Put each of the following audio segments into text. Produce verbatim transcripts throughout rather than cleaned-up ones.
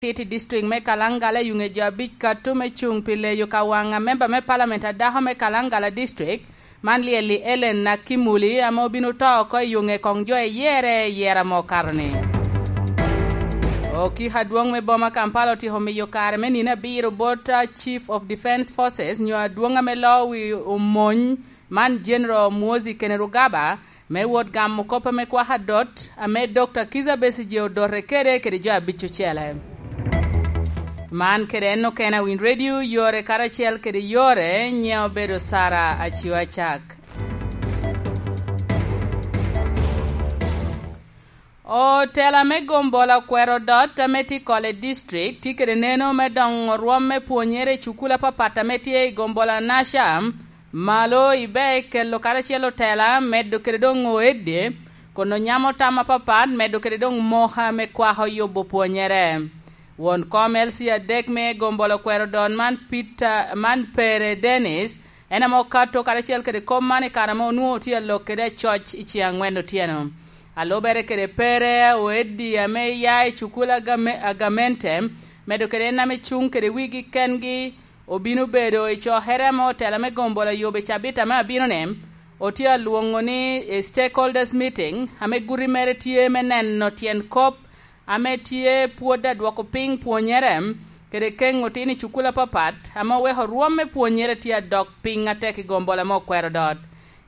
Titi District me Kalangala i yuŋe jo abic kato me cuŋ pi leyo ka waŋ a memba me palament a dako me Kalangala District, man lyel-li Ellen Nakimuli, ame obino to oko i yuŋe koŋ jo eyere i yera mo kato-ni. Okiko adwoŋ me boma Kampala otyeko miyo kare me nino abiro bot, ah, Chief of Defence Forces nyo adwoŋ ame loo wi omony man General Muhoozi Kainerugaba, me wot gamo kop ame kwaka dot, ame Dokta Kizza Besigye odote kede, kede jo abic ocele. Man kede en okene a Winy Radio, yore karacel kede yore, nyiŋa obedo Sara Aciwa Cak. Otela me gombola okwero dot ame tye i Kole District tye kede neno me doŋo rwom me pwonyere i cukul apapat ame tye i gombola Nasham, malo ibe kelo karacel otela, medo kede doŋ oedde, kono nyamo tam apapat, medo kede doŋ moka me kwako yubo pwonyere. Won kom L C adek me gombola okwero dot man, Peter, man Pere Dennis, en ame okato karacel kede kop man i kare ame onwoŋo tye alok kede acoc i ceŋ aŋwen otyeno. A lubere kede Pere, oeddi ame ya i cukul agame-, agamente, medo kede en ame cuŋ kede wigi kengi, obino bedo i cokere ame otela me gombola yubo i cabit ame abino-ni, otye alwoŋo ni, eh, stakeholders meeting, ame guti mere tye me neno tyen kop ame tye pwod adwoko piny pwonyere, kede keŋo tin i cukul apapat, ame oweko rwom me pwonyere tye adok piny atek i gombola ame okwero dot.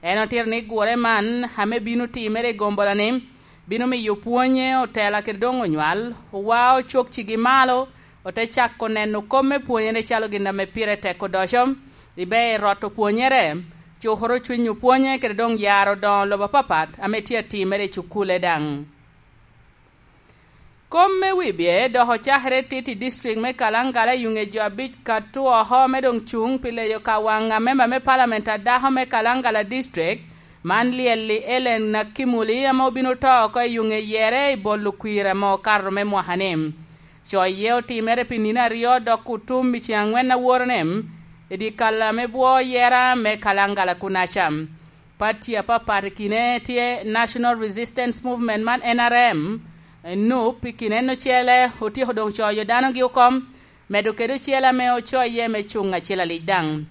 En otito ni gure man, ame bino timere i gombola-ni, bino miyo pwonye otela kede doŋ onywal, owa ocok cigi malo, ote cako neno kop me pwonyere calo gin ame pire tek odoco, ibe i roto pwonyere, cukoro cwiny opwonye kede doŋ yaro doŋo lobo apapat ame tye atimere i cukule daŋ. Kom me wibye dok ocakere tit i district me Kalangala i yuŋe jo abic kato oko me doŋ cuŋ pi leyo ka waŋ a memba me palament a dako me Kalangala District, man lyel-li Ellen Nakimuli, ame obino to oko i yuŋe yere i bolo kwir ame okato me mwaka-ni. Coye otimere pi nino aryo dok otum i ceŋ aŋwen a woro-ni, i dye kal ame bwo yera me Kalangala kunaca. Pati apapat i kine tye National Resistance Movement man N R M, NUP i kine en ocele otyeko doŋ coyo danogi oko, medo kede ocele ame ocoye me cuŋ acel alic daŋ.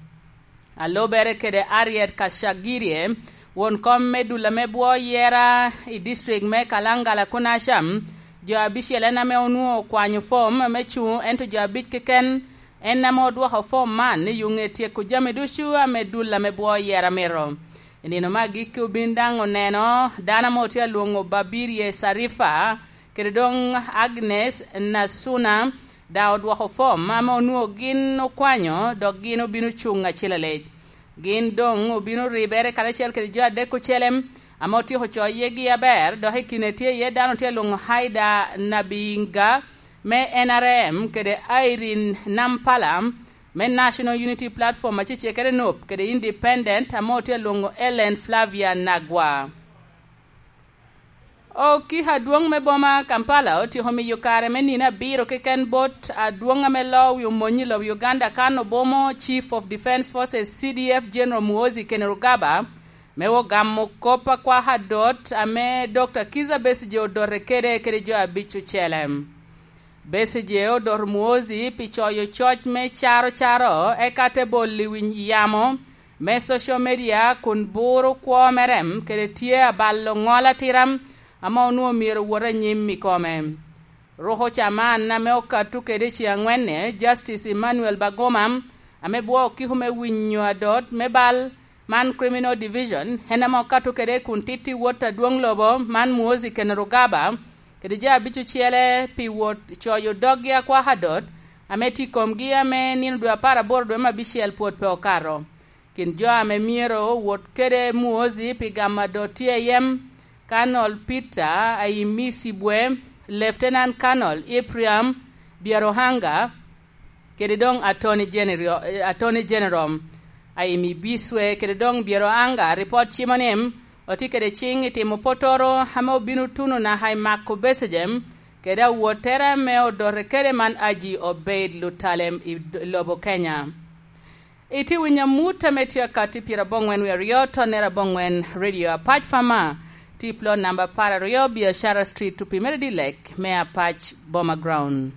A lubere kede Harriet Kachagirie, won kom me dul ame bwo yera i district me Kalangala kunaca, jo abicel en ame onwoŋo okwanyo fom me cuŋ, ento jo abic keken en ame odwoko fom man i yuŋe tyeko jami ducu ame dul ame bwo yera mito. I nino me agikki obin daŋ oneno dano ame otye alwoŋo Babirie Sarifa, kede doŋ Agnes Nasuna, daŋ odwoko fom ame onwoŋo gin okwanyo, dok gin obino cuŋ acel alec. Gin doŋ obino ribere karacel kede jo adek ocele ame otyeko coyegi aber, dok i kine tye iye dano tye alwoŋo Haida Nabinga me N R M, kede Irene Nampala me National Unity Platform, acecekere NUP, kede Independent, ame otye alwoŋo Ellen Flavia Nagwa. Okiko adwoŋ me boma Kampala otyeko miyo kare me nino abiro keken bot adwoŋ ame loo wi omony i lobo Uganda kan obomo Chief of Defence Forces, C D F, General Muhoozi Kainerugaba, me ogamo kop akwaka dot ame Dokta Kizza Besigye odote kede, kede jo abic ocele. Besigye odoto Muhoozi pi coyo coc me caro caro, eka te bolo i wi yamo me social media kun buro kwo mere, kede tye abalo ŋol atira ame onwoŋo myero owot anyim i kome. Ruko caman ame okato kede i ceŋ aŋwen-ni, Justice Emmanuel Bagoma, ame bwo okiko me winyo adot me bal man Criminal Division, en ame okato kede kun titi wot adwoŋ lobo man Muhoozi Kainerugaba, kede jo abic ocele pi wot coyo doggi akwaka dot, ame tye i komgi ame nino dwe apar aboro dwe me abicel pwod pe okato. Kin jo ame myero wot kede Muhoozi pi gamo adot tye iye Colonel Peter Aimisi Bwe, Lieutenant Colonel Ephraim Byaruhanga, kede doŋ Attorney General, eh, Attorney General Aimibiswe, kede doŋ Byaruhanga, ripot cimo ni otye kede ciŋ i timo potoro ame obino tuno naka i mako Besigye, kede awottere ame odote kede man Aji Obeid Lutalem i d-, lobo Kenya. Itye winyo amut ame tye akati pyeraboŋwen wie aryo, tonnere aboŋwen, Radio Apac Farmer, tye i plot namba apar aryo, Biashara Street, Tupimere Dilek, me Apac Boma Ground.